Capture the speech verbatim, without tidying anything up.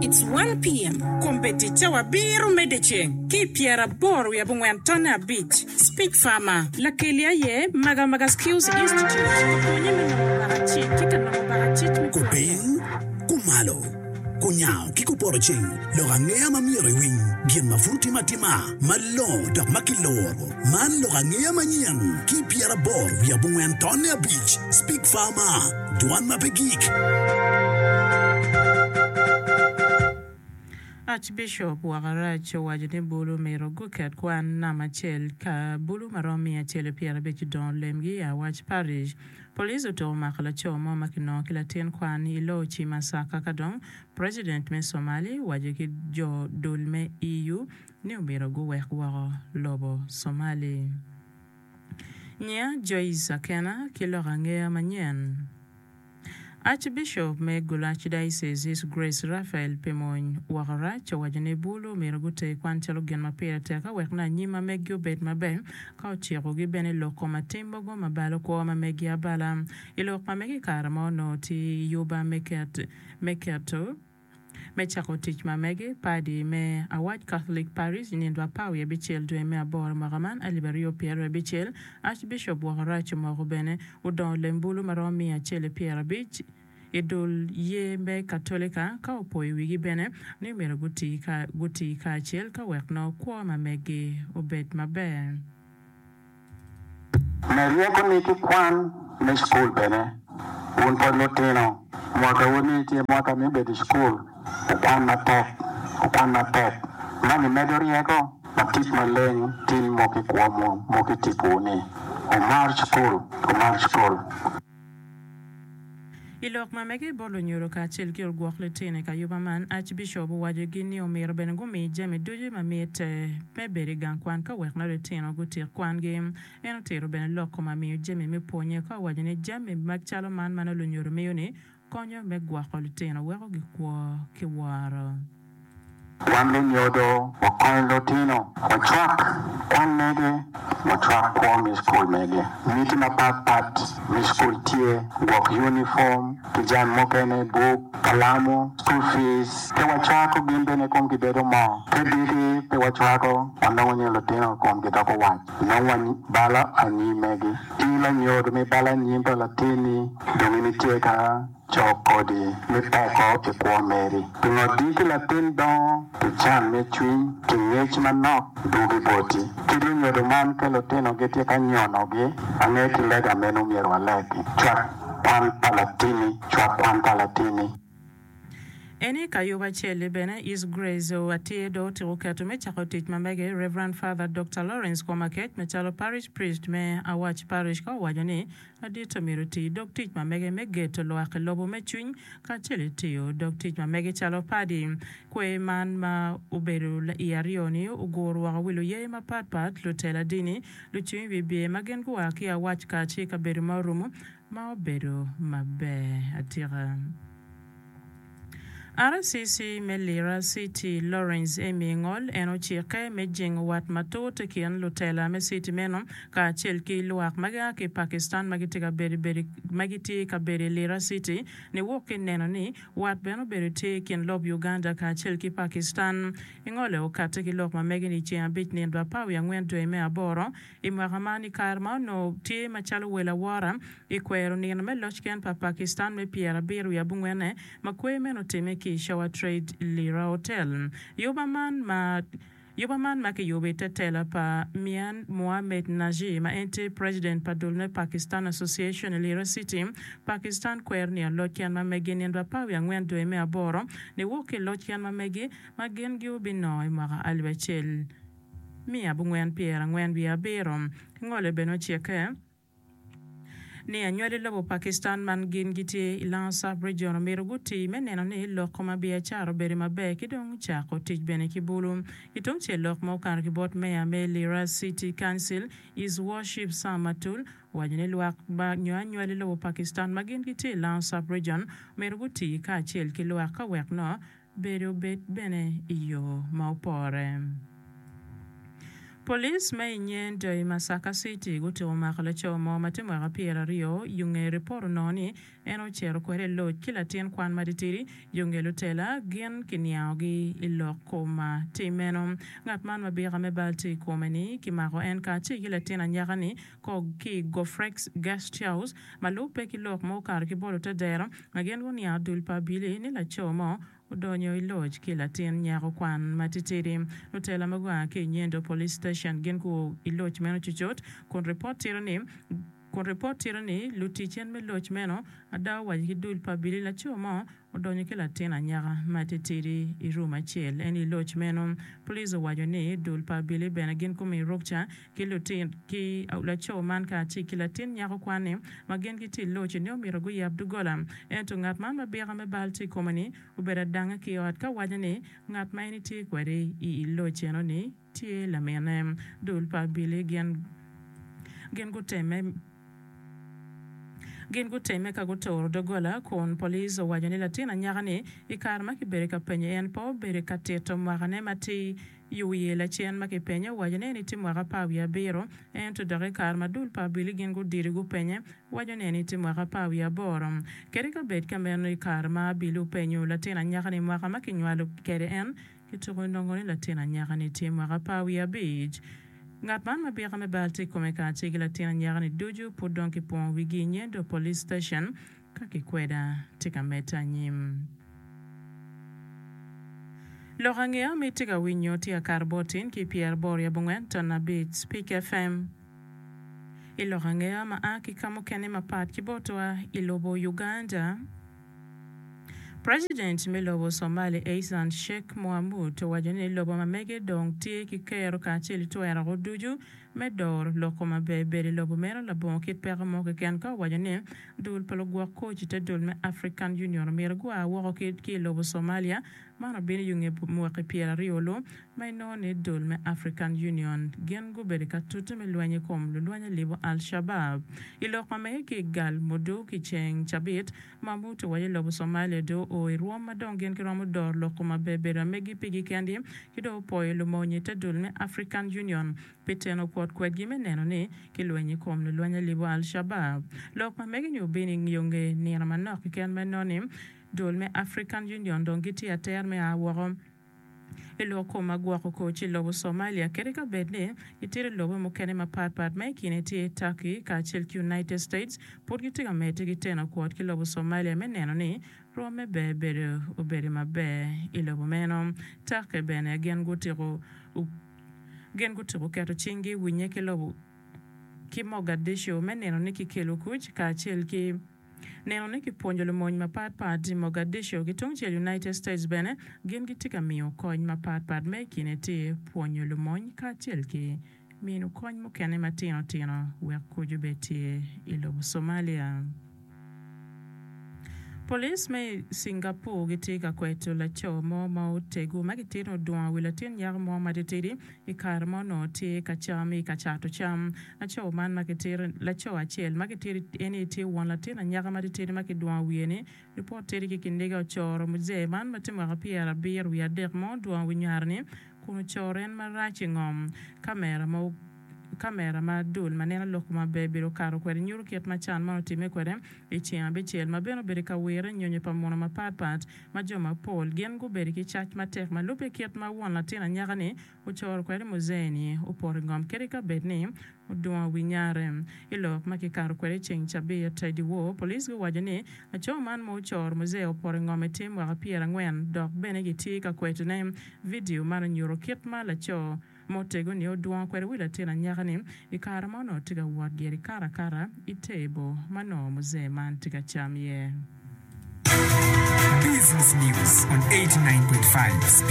It's one P M. Kombeddi cawa abiro me dyeceng ki pyeraboro wiye abongwen tonne abic. Speak Farmer lakeli aye Magamaga Skills Institute opwonye me nongo bakacic ki ka nongo bakacic me pwonye. Kupiny, kumalo, kunyango ki kupoto ceng, lok angeya ma myero iwiny, gin ma pud timo atima, malongo dok ma kiloro. Man lok angeya manyen ki pyeraboro wiye abongwen tonne abic. Speak Farmer, dwan ma pe gik. Archbishop Wakarac owaco ni bulu myero guket kwan namba acel ka bulu ma romo miya acel pyerabic odongo lemgi i Awac Parish. Police otuko mako laco mo ma kinongo ki latin kwan i Loci Masaka ka dong President me Somali owaco ki jo dul me E U ni omyero guwek woko lobo Somali. Nyia Joyce Akena ki lok angeya manyen. Archbishop me Gulu Archdiocese His Grace Raphael Pimony Wakarac owaco ni bulu myero guter kwan calo gin ma pire tek ka wek na anyim ma meggi obed maber ka ocikogi bene lok kom atim mogo ma balo kwo ma meggi abala. I lok ma megi i kare ma onongo tye i yuba me ket me keto me cako tic ma mege padi me Awac Catholic Parish i nindo apar wiye abicel dwe me aboro mwaka man alip aryo pyeraryo abicel. Archbishop Wakarac omoko bene odongo lem bulu ma romo miya acel pyerabic i dul ye me Katolika ka opoyo wigi bene ni myero guti ka guti kacel ka wek nongo kwo ma meggi obed maber. Me ryeko ni ki kwan me cukul bene, wun pwod lutino, mwakawu ni tye mwaka me bedo i cukul, wukwan matek, wukwan matek. Man imedo ryeko ma tic maleng tin moko i kwo moko i tipo ni. Wumar cukul, wumar cukul. I lok ma mege bot lunyodo kacel ki ogwok litino i ka yuba man, Archbishop owacogi ni omyero bene gumi jami ducu ma mitte me bedo i gang kwan ka wek nongo litino gutik kwangi. En otito bene lok kom amiyo jami me pwonye ka owaco ni jami macalo man ma nongo lunyodo miyo ni konyo me gwoko litino weko gikwo ki woro. Wan lunyodo wakony lutino, wacwak kwan mege, wacwak kwo me cukul mege. Miti mapatpat me cukul tye, gwok uniform ki jami mukene, buk, kalamo, school fees. Pe wacwako gin bene komgi bedo mor. Pe diki pe wacwako, wanongo ni lutino komgi doko wac. Nongo wabalo anyim megi. In lanyodo me balo anyim pa latinni, dong in itye ka co kodi me peko i kwo meri. Pingo diki latin dongo ki can me cwiny ki ngec manok dugi boti. Ki lunyodo man ka lutino gitye ka nyonogi, ange ki lega meno myero walegi. Cwak kwan pa latini, cwak kwan pa latini. Eni ka yuba acel bene His Grace atye do otiko keto me cako tic ma mege Reverend Father Doctor Lawrence Komakech macalo parish priest me Awac Parish ka owaco ni ladit myero oti dog tic ma mege me geto lwak i lobo me cwiny kacel itiyo dog tic ma mege calo padi. Kwe man ma obedo i aryo ni oguro woko wi luye mapatpat lutela dini lucung wi bye ma gin gua ki Awac kacel i kabedo ma orumo ma obedo maber atika. R C C me Lira City Lawrence Emi Ngol en ocikke me jingo wat matut i kin lutela me city meno kacel ki lwak ma gia ki Pakistan ma gitye ka bedo ma gitye ka bedo i Lira City niwok ki neno ni wat bene obedo tye i kin lob Uganda kacel ki Pakistan. Ingole okatte ki lok ma mege ni ceng abic nindo apar wiye angwen dwe me aboro i mwaka man i kare ma onongo tye macalo wel awora i kwero nino me loc ken pa Pakistan me pyerabiro wiye abongwene ma kwer meno otimme ki i Shower Trade Lira Hotel. Yuba man ma Yuba man ma kiyubo i te tela pa Mian Mohamed Nazir ma en tye president pa dul me Pakistan Association i Lira City. Pakistan kwero ni aloc ken ma megi nindo apar wiye angwen dwe me aboro niwok ki loc ken ma megi ma gin giobinongo i mwaka alip acel miya abongwen pyerangwen wiye abiro. Ngole bene ocikke ni anywali lobo Pakistan man gin gitye i Lango Sub Region omyero guti me neno ni lok kom biacara obedo maber ki dong cako tic bene ki bulu. I tung cel lok ma okato ki bot meya me Lira City Council His Worship Sam Matul owaco ni lwak ma nyo anywali lobo Pakistan ma gin gitye i Lango Sub Region omyero guti kacel ki lwak ka wek no bedo bed bene i yo ma opore. Police me i Nyendo i Masaka City gutiko mako laco mo ma tye mwaka pyeraryo i nge ripot onongo ni en ocito kwede i loc ki latin kwan matitidi yo nge lutela gin kiniangogi i lok kom tim meno. Ngat man ma bika me bal tye i kome-ni kimako en kacel ki latin anyaka-ni ki i Gofrex Guest House ma lubbe ki lok ma okato ki bot lutedero ma gin guniango dul pa abili ni laco mo odonyo i loc ki latin nyako kwan matitidi. Lutela ma gua ki i Nyendo Police Station gin guo i loc meno cucut kun ripot tito ni kun ripot tito ni lutic en me loc meno ada owaco ki dul pa abili laco mo odonyo ki latin anyaka matitidi i rum acel en i loc meno. Police owaco ni dul pa abili bene gin gumiyo rukca ki lutin ki laco man kacel ki latin nyako kwan-ni ma gin gitye i loc ni omyero guyab doggola ento ngat man ma bika me bal tye i kome-ni obedo adanga ki i ot ka waco ni ngat ma en etye kwede i loc eno-ni tye lamine. Dul pa abili gin gin gutemme gin gutemme ka guturo doggola kun police owaco ni latin anyaka-ni i kare ma kibedo ka penyo en pe obedo ka tito mwakane matir i wiye lacen ma kipenye owaco ni en etye mwaka apar wiye abiro ento dok i kare ma dul pa abili gin gudiri gupenye waco ni en etye mwaka apar wiye aboro. Kadi ka bed ka meno i kare ma abili openyo latin anyaka-ni mwaka ma kinywalo kwede en kituko nongo ni latin anyaka-ni tye mwaka apar wiye abic. Ngat man ma bika me bal tye i kome kacel ki latin anyaka-ni ducu pud dong kipongo wigi i Nyendo Police Station ka kikweda tye ka medde anyim. Lok angeya ma itye ka winyo tye akato bot tin ki pyeraboro i abongwen ton abic Speak FM. I lok angeya ma a ki ka mukene mapat ki botwa i lobo Uganda, President me lobo Somali Hassan Sheikh Mohamud owaco ni lobo ma mege dong tye ki kero kacel ki twero ducu me doro loko maber bedo i lobo meno labongo kit peko mo keken ka owaco ni dul pa lugwok koc i te dul me African Union omyero gua woko ki i lobo Somalia man obino i nge mwaki pyeraryo lu ma inongo ni dul me African Union gin gubedo ka tute me lweny i kom lulweny alibo Al-Shabab. I lok ma mege ki i Galmudug i ceng cabit, Mohamud owaco ni lobo Somalia dong oo i rwom ma dong gin giromo doro loko maber bedo amegi pigi kendi ki dong opoyo lumony i te dul me African Union pi teno kwot kwedgi me neno ni kilwenyo i kom lulweny alibo Al-Shabab. Lok ma mege-ni obino i yo nge nino manok keken ma inongo ni dul me African Union dong gitye ater me a woko i lok kom ma gwoko koc i lobo Somalia kadi ka bed ni gitye i lobe mukene mapatpat ma i kine tye Turkey kacel ki United States pud gitye ka medde ki teno kwot ki lobo Somalia me neno ni rwom me ber bedo obedo maber i lobo meno. Turkey bene gin gutiko gin gutiko keto cinggi i winye ki lobo ki Mogadishu me neno ni kikelo kuc kacel ki neno ni kipwonyo lumony mapatpat i Mogadishu ki tungcel United States bene gin gitye ka miyo kony mapatpat ma i kine tye pwonyo lumony kacel ki mino kony mukene matino tino wek kuc obed tye i lobo Somalia. Police me Singapore gitye ka kweto laco mo ma otego ma gitye ni odwongo wi latin nyako mo matitidi i kare ma onongo tye ka cam i ka cato cam. Laco man ma gitito laco acel ma gitito en ni tye won latin anyaka matitidi ma kidwongo wiye ni ripot tye ki kiniga ocoro muzee man ma tye mwaka pyerabiro wiye adek ma odwongo wi nyare-ni kun ocoro en marac i ngom. Kamera ma kamera ma dul ma neno lok maber bedo okato kwede nyuto kit ma can man otimme kwede i ceng abicel ma bene obedo ka wire nyonyo pa muno mapatpat ma jo mapol gin gubedo ki cac matek ma lubbe kit ma won latin anyaka-ni ocoro kwede muzee-ni opoto i ngom kadi ka bed ni odwongo wi nyare. I lok ma kikato kwede i ceng cabit i dyewor, police guwaco ni laco man ma ocoro muzee opoto i ngom tye mwaka pyerangwen dok bene gitye ka kwetone. Vidio man onyuto kit ma laco ma otego-ni odwongo kwede wi latin anyaka-ni i kare ma onongo tye ka wot gire karakara i tebo ma nongo muzee man tye ka cam iye. Business News on eighty-nine point five.